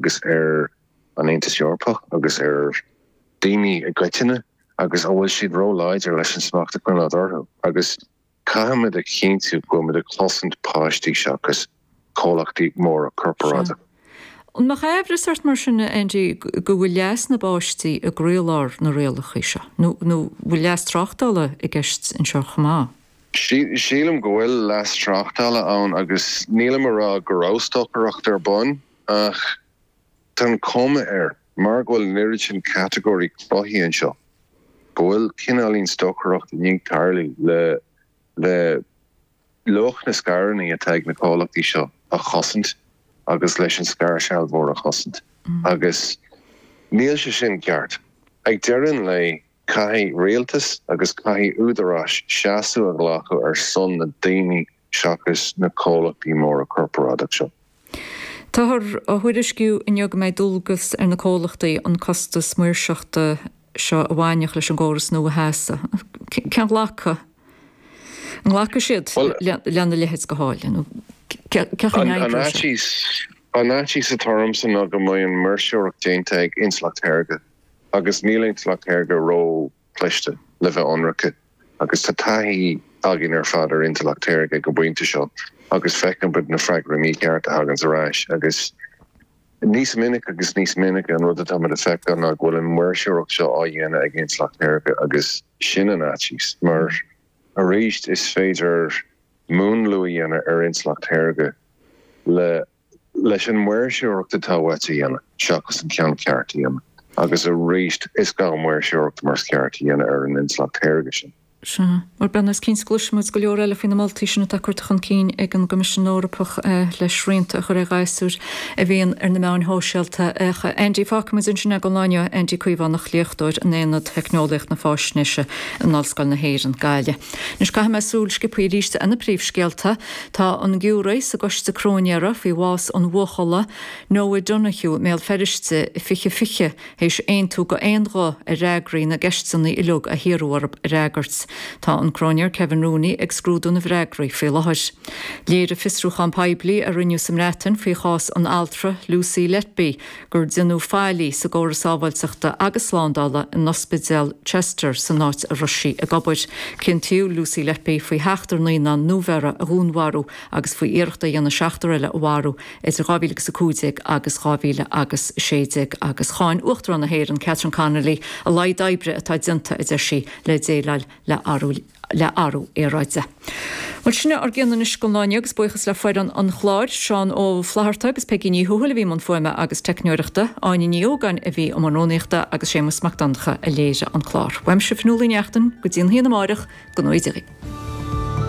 agus ar an Aontas Eorpach agus ar daoine i gcoitinne agus an bhfuil siad ró-láidir leis an smacht a choinneáil orthu agus caithfimid a chinntiú go bhfuil muid ag cosaint páistí seachas comhlachtaí móra corparáideacha. An mbeadh aimhreas ort mar sin, a Andy, go bhfuil leas na bpáistí i gcroílár na rialacha seo? Nó bhfuil leas tráchtála i gceist anseo chomh maith? Sílim go bhfuil leas tráchtála ann agus nílim a rá go raibh stocaireacht ar bun ach tá an chuma air, mar go bhfuil an oiread sin catagóirí cruthaithe anseo, go bhfuil cineáilín stocaireacht i ndiaidh tarlú le le luach na scaireanna atá ag na comhlachtaí seo a chosaint agus leis an scairshealbhóir a chosaint. Agus níl sé sin ceart. Ag deireadh an lae, caithfidh rialtas agus caithfidh údaráis seasamh a ghlacadh ar son na daoine seachas na comhlachtaí móra corparáideach seo. Táthar á thuairisciú inniu go mbeidh dualgas ar na comhlachtaí an costas maoirseachta seo a bhainfeadh leis an gcóras nua a sheasamh. Cén ghlacadh? An nglacfaidh siad lena leithéid de tháille nó cén chaoi a n-oibreoidh sé? An fhaitíos atá ormsa ná go mbeidh an mhaoirseoireacht déanta ag intleacht shaorga agus níl intleacht shaorga ró chliste, le bheith ionraice, agus tá taithí againn ar fad ar intleacht shaorga ag an bpointe seo agus feiceann muid na freagraí míchearta a thaganns ar ais agus níos minice agus níos minice an rud atá muid a feiceáil ná go bhfuil an mhaoirseoireacht seo á dhéanamh ag intleacht shaorga agus sin an fhaitíos mar arís is féidir múnlú a dhéanamh ar intleacht shaorga le leis an maoirseoireacht atá uait a dhéanamh seachas an ceann ceart a dhéanamh. Agus arís, is gá maoirseoireacht mar is ceart a dhéanamh ar an intleacht shaorga sin. Sea. Bhuel, beidh is cinnte go gcloisfidh muid go leor eile faoi na moltaí sin atá curtha chun cinn ag an gCoimisiún Eorpach le srianta a chur ar ghasúir a bhíonn ar na meáin shóisialta. Ach, Andy, fágfaidh muid ansin é don lá inniu. Andy Caomhánach, léachtóir in Aonad Theicneolaíocht na Faisnéise in Ollscoil na hÉireann, Gaillimh. Anois caithfidh mé súil sciobtha arís ar na príomhscéalta. Tá an giúiré sa gcoiste cróinéara faoi bhás an bhuachalla, Noah Donohoe i mBéal Feirste i 2020, théis aontú d'aon ghuth ar fhreagraí na gceisteanna uilig a hiarradh orthu a fhreagairt. Tá an cróinéir Kevin Rooney ag scrúdú na bhfreagraí faoi láthair. Léirigh fiosrúchán poiblí a rinneadh sa mBreatain faoi chás an altra Lucy Letby gur déanadh faillí sa gcóras sábháilteachta agus slándála in ospidéal Chester san áit a raibh sí ag obair. Ciontaíodh Lucy Letby faoi sheachtar naíonán nuabheirthe a dhúnmharú agus faoi iarracht a dhéanamh seachtar eile a mharú idir 2015 agus 2016 agus cháin Uachtarán na hÉireann Catherine Connolly a laghad oibre atá déanta, a deir sí, le déileáil le le athrú aeráide. Bhuel, sin é ár gcion anois don lá inniu agus buíochas le foireann an chláir, Seán Ó Flatharta agus Peigí Ní Thuathail a bhí i mbun fuaime agus teicneoireachta, Áine Ní Ógáin a bhí i mbun rúnaíochta agus Séamus Mac Donncha a léirigh an clár. Uaimse Fionnuala Ní Neachtain, go dtí an haon amáireach, go ngnóthaí Dia dhaoibh.